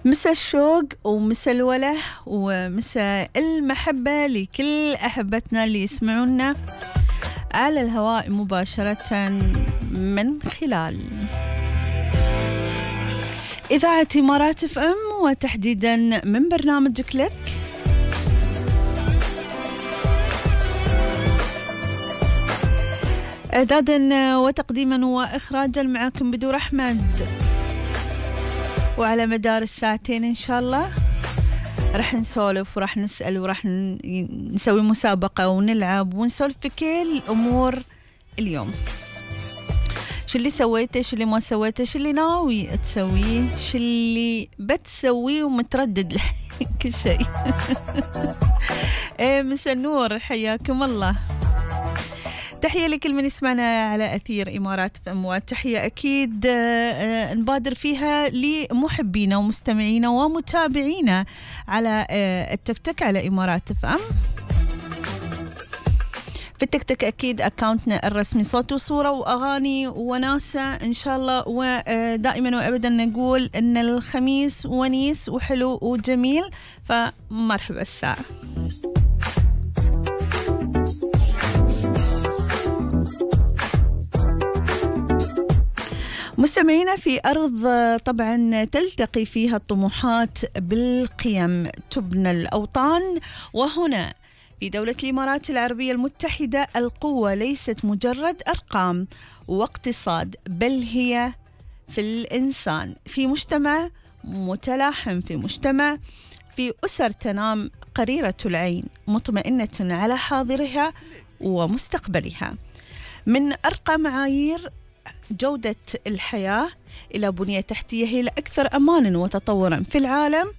مسا الشوق ومسا الوله ومسا المحبة لكل أحبتنا اللي يسمعونا على الهواء مباشرة من خلال إذاعة إمارات اف ام، وتحديدا من برنامج كليك. إعدادا وتقديما وإخراجا معكم بدور أحمد، وعلى مدار الساعتين إن شاء الله رح نسولف ورح نسأل ورح نسوي مسابقة ونلعب ونسولف في كل أمور اليوم. شو اللي سويته، شو اللي ما سويته، شو اللي ناوي تسويه، شو اللي بتسويه ومتردد كل شيء. مسا النور، حياكم الله. تحية لكل من يسمعنا على أثير إمارات فم، وتحية أكيد نبادر فيها لمحبينا ومستمعينا ومتابعينا على التيك توك على إمارات فم. في التيك توك أكيد أكاونتنا الرسمي صوت وصورة وأغاني وناسة إن شاء الله، ودائما وأبدا نقول إن الخميس ونيس وحلو وجميل، فمرحبا الساعة. مستمعينا في أرض طبعا تلتقي فيها الطموحات بالقيم، تبنى الأوطان، وهنا في دولة الإمارات العربية المتحدة القوة ليست مجرد أرقام واقتصاد، بل هي في الإنسان، في مجتمع متلاحم، في مجتمع، في أسر تنام قريرة العين مطمئنة على حاضرها ومستقبلها. من أرقى معايير جودة الحياة إلى بنية تحتية هي الأكثر أمانا وتطورا في العالم.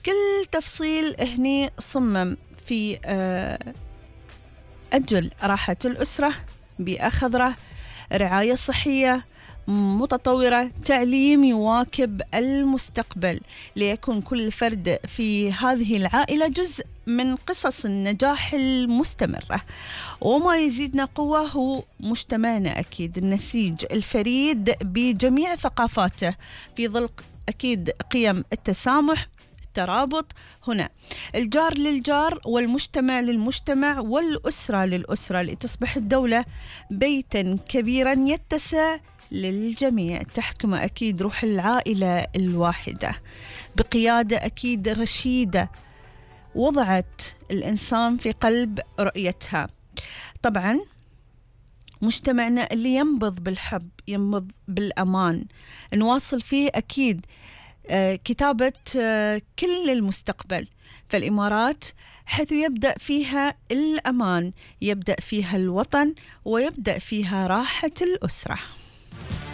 كل تفصيل هني صمم في أجل راحة الأسرة، بيئة خضراء، رعاية صحية متطورة، تعليم يواكب المستقبل، ليكون كل فرد في هذه العائلة جزء من قصص النجاح المستمرة. وما يزيدنا قوة هو مجتمعنا أكيد النسيج الفريد بجميع ثقافاته، في ظل أكيد قيم التسامح، الترابط، هنا الجار للجار والمجتمع للمجتمع والأسرة للأسرة، لتصبح الدولة بيتا كبيرا يتسع للجميع، تحكم أكيد روح العائلة الواحدة بقيادة أكيد رشيدة وضعت الإنسان في قلب رؤيتها. طبعا مجتمعنا اللي ينبض بالحب، ينبض بالأمان، نواصل فيه أكيد كتابة كل المستقبل. فالإمارات حيث يبدأ فيها الأمان، يبدأ فيها الوطن، ويبدأ فيها راحة الأسرة.